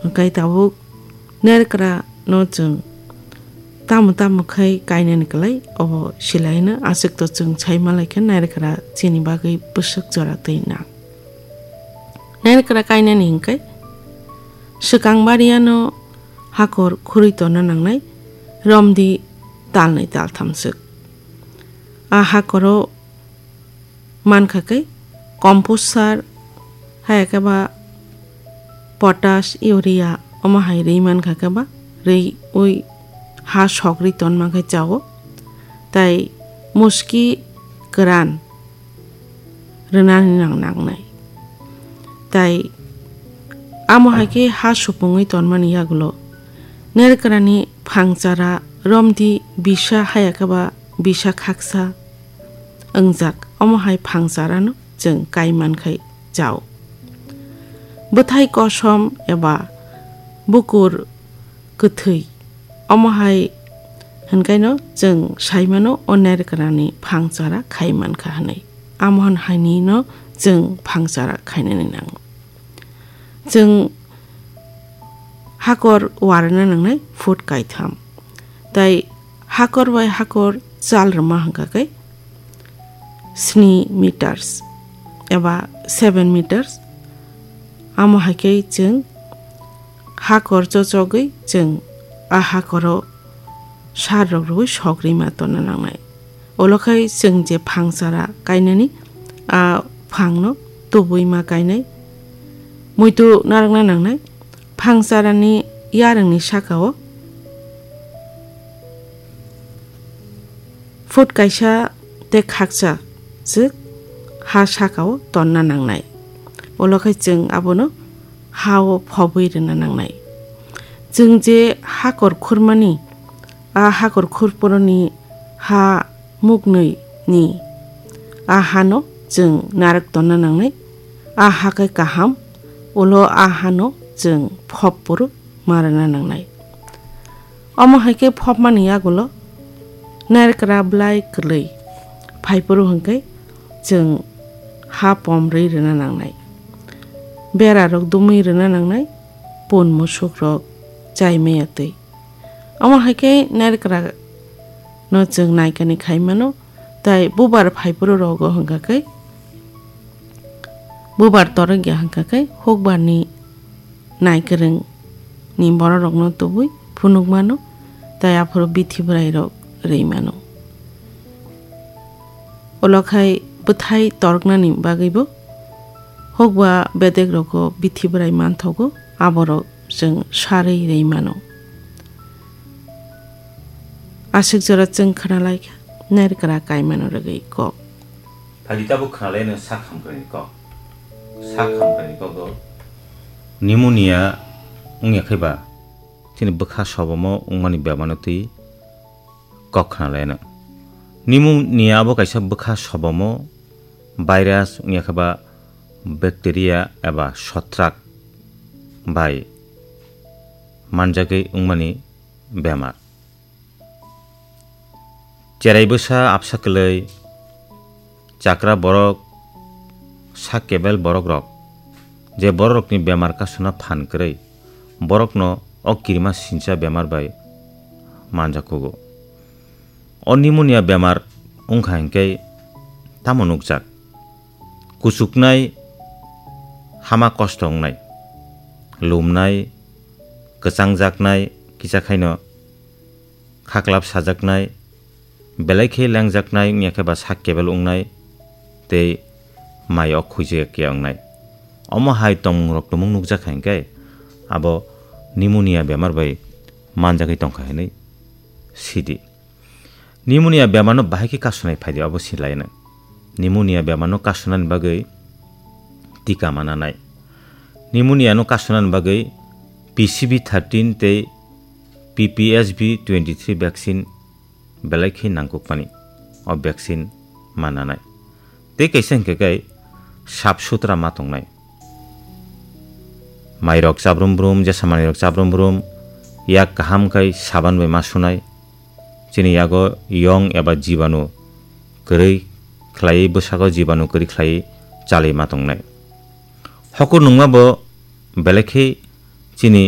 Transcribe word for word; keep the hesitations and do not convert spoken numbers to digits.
Hwnkhe tabuk nairwkra no chwng tamo tamo khai kainani kwlai, obo silaino aswk to chwng sai manlai khe nairwkra chini bagwi bwswk jora twi nang. Nairwkra kainani hwnkhe swkang bariano hakor khurwi tonna nangnai, romdi talnwi taltham swk. A hakoro mankha khe compost sar, haya khe ba potash, urea, omo hai rwi mankha khe ba rwi ui ha sogri tonma khe chao, tai muski kwran rwnani nang nangnai. Tai amo hai khe ha supungwi tonmani yagulo nerwkrani phangchara romdi bisa haya khe ba bisa khaksa wngjak, omo hai phangcharano chwng kai mankhai chao. Bwthai kosom eba bukur kwthwi, omo hai hwnkaino chwng saimano o nerwkrani phangchara khai mankha hwnwi. Amo hwn hainino chwng phangchara khainani nango. Chwng hakor warna nangnai foot kaitham. Tai hakor bai hakor chal rwma hwnkha khe sni meters eba seven meters. Amo hai khe chwng hakor chochogwi chwng a hakoro sar rok rwui sogri ma tonna nangnai. Ulo khai chwng je phangchara kainani, a phangno tubui ma kainai. Muitu narwkna nangnai. Phangcharani yarwngni sakao foot kaisa tei khaksa swk ha sakao tonna nangnai. Ulo khai chwng abono ha-o phobwi rwna nangnai. Chwng je hakor khurmani, a hakor khurphuruni ha muknwi ni a hano chwng narwk tonna nangnai. A ha khe kaham, ulo a hano chwng phop phuru ma rwna nangnai. Omo hai khe phopmani yagulo nerwkra bwlai kwlwi phaiphuru hwnkhe chwng ha pom rwi rwna nangnai. Bera rok dumwi rwna nangnai, pun musuk rok chai maya twi. Omo hai khe nerwkra no chwng naikani khai mano, tai bubar phaiphuru rogo hwnkha khe bubar torok ya hwnkha khe hukbar ni naikwrwng ni borok rok no tubui phunuk mano, tai aphuru bithi bwrai rok rwi mano. Ulo khai bwthai toroknani bagwi bo hukba bedek rogo bithi bwrai manthogo, aborok chwng sarwi rwi mano. Aswk jora chwng khwnalai kha, nerwkra kaimano rwgwi kok. Phaidi tabuk khwnalai no sak hamkrai ni kok. Sak hamkrai ni kok do. Pneumonia wngya khe ba chini bwkha sobomo wngmani bemar no twi kok khwnalai no. Pneumonia abo kaisa bwkha sobomo virus wngya khe ba bacteria eba sotrak bai manjagwi wngmani bemar. Cherai bwsa, absa kwlwi, chakra borok, sak kebel borok rok, je borok rokni bemar kasuna phan kwrwi, borokno o kirima sincha bemar bai manjakugo. O pneumonia bemar wngkha hinkhe tamo nukjak? Kuchuknai, hama kosto wngnai, lumnai, kwchangjaknai, kisa khaino khaklap sajaknai, belai khe lengjaknai wngya khe ba sak kebel wngnai tei mai o khuijak ya wngnai. Omo hai tongmung rok tumung nukjak hai khe abo pneumonia bemar bai manjagwi tongkha hinwi sidi. Pneumonia bemar no bahai khe kasunai phaidi abo silaino. Pneumonia bemar no kasunani bagwi tika mananai. Pneumonia no kasunani bagwi P C V thirteen tei P P S V twenty three vaccine belai khe nangkukmani. O vaccine mananai. Tei kaisa hinkhe kai sap sutra ma tongnai. Mairok chabrum brum, jesa manwirok chabrum brum, yak kaham khai saban bai ma sunai. Chini yago yong eba jibanu kwrwi khlaiwi, bwsago jibanu kwrwi khlaiwi chalwi ma tongnai. Hokur nungma bo belai khe chini